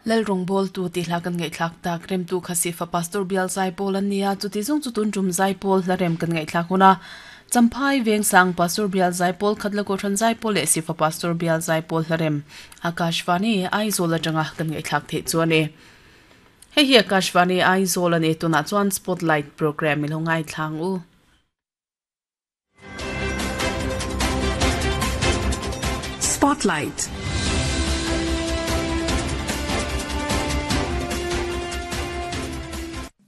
Lalrawngbawltu tih hla kan ngaihthlak tak remtu kha Sifa Pastor Bial Zaipawl an nia, chuti zawng chu tun tum Zaipawl hla rem kan ngaihthlak hun a. Champhai Vengsang Pastor Bial Zaipawl Khatla Kohhran Zaipawl leh Sifa Pastor Bial Zaipawl hla rem Akashvani Aizawl atanga kan ngaihthlak theih chu a ni. Hei hi Akashvani Aizawl a ni, tunah chuan Spotlight Programme i lo ngaithla ang u. Spotlight.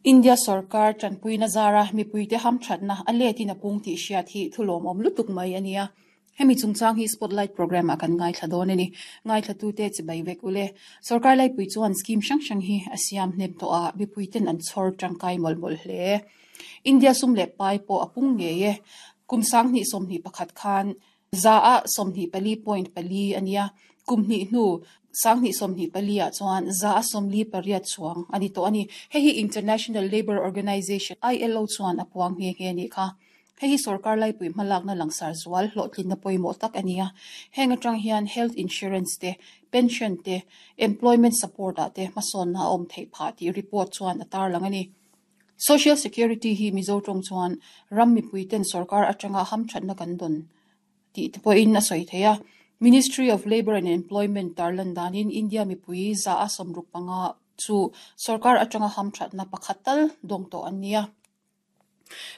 India sorkar tanpuina zara mipuite hamthatna a letin a pung tih hriat hi thulawmawm lutuk mai a nia. Hemi chungchang hi Spotlight programme ah kan ngaithla dawn a ni. Ngaithlatute chibai vek ule. Sorkar laipui chuan scheme hrang hrang hi a siam hnem tawh a, mipuiten an chhawr tangkai mawlh mawlh hle. India sum leh pai pawh a pung ngei e. Kum 2021 khan za ah 24.4 a nia, kum hnih hnu 2024 ah chuan za a 48 chuang a ni tawh a ni. Hei hi International Labour Organization, ILO, chuan a puang nghe nghe a nih kha. Hei hi sorkar laipui hmalakna langsar zual hlawhtlinna pawimawh tak a ni a. Heng atang hian health insurance te, pension te, employment support ah te hmasawnna a awm theih phah tih report chuan a tarlang a ni. Social Security hi Mizo tawng chuan ram mipui ten sorkar atanga hamthatna kan dawn tih te pawhin a sawi thei a. Ministry of Labour and Employment tarlan danin India mipui 65% chu sorkar atanga hamthatna pakhat tal dawng tawh an ni a.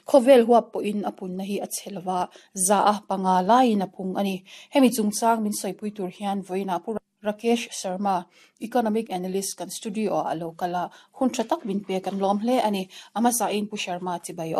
Khawvel huap pawhin a punna hi a chhe lova, 5% laiin a pung a ni. Hemi chungchang min sawipui tur hian vawiinah Pu Rakesh Sharma, Economic Analyst kan studio ah a lo kal a, hun tha tak min pek an lawm hle a ni. A hmasain Pu Sharma chibai aw.